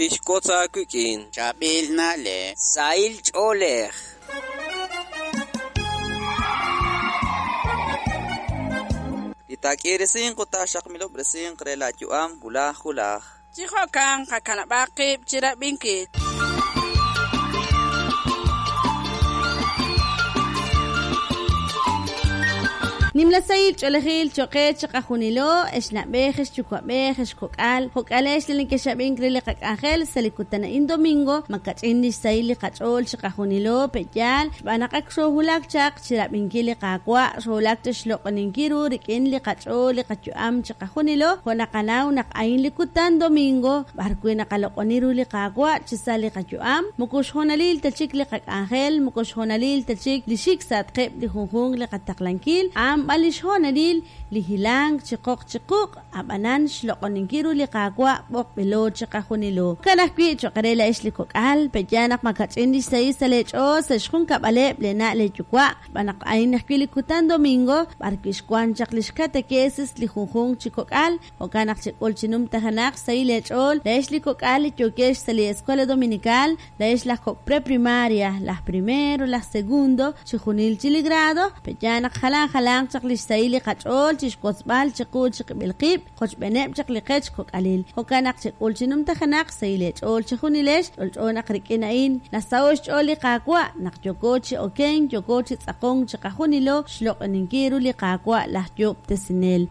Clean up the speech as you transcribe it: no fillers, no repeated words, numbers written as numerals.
Tixwotz aawik'in. Chaab'il na'leb'. Sahil ch'oolej. Li taak'iirisinq ut taaxaqmilob'resinq re laayu'am wulaj wulaj. Chi jo'kan qakanab'aq qib' chi rab'inkil. Nimla sahil ch'oolejil cho'q qe chiqajunilo, ex na'b'ej, ex yuwa'b'ej, ex kok'al, jo'k'alex li nekexab'ink re li qak'anjel sa' li kutan a'in domingo, makach'in li xsahil li qach'ool chiqajunilo, pe'yaal, xb'aan naq ak xoohulak chaq chi rab'inkil li Qaawa', xoohulak chi xloq'oninkil ru rik'in li qach'ool li qayu'am chiqajunilo, jo' naqanaw naq a'in li kutan domingo, b'ar wi' naqaloq'oni ru li Qaawa' chi sa' li qayu'am, moko xhoonalil ta chik li qak'anjel, moko xhoonalil ta chik li xik sa'atqeb' li junjunq li qataqlankil, a'an b'an li xhoonalil li hilank chi qoq chi quq', ab'anan xloq'oninkil ru li Qaawa' b'oqb'ilo chiqajunilo. Jo'kan ajwi' cho'q re laa'ex li kok'al, pe'yaal naq makach'in li xsahil sa' leech'ool sa' xjunkab'aleb' leena' leeyuwa', xb'aan naq a'in ajwi' li kutan domingo b'ar wi' xwank chaq li xkatekesis li junjunq chi kok'al, jo'kan naq chek'ul chi numtajenaq xsahil leech'ool laa'ex li kok'al li yookex sa' li Escuela Dominical, laa'ex laj kok' preprimaria, laj primero, laj segundo, chi junil chi li grado, pe'yaal naq jalan jalanq chaq li xsahil li qach'ool chi xwotzb'al chiqu chiqib'il qib', qochb'eeneb' chaq li qech kok'alil. Jo'kan naq chek'ul chi numtajenaq xsahil leech'ool chi junilex, ch'olch'o naq rik'in a'in nasaho' xch'ool li Qaawa' naq yooko chi okenk, yooko chi tz'aqonk chiqajunilo xloq'oninkil ru li Qaawa' laj Yoob'tesinel.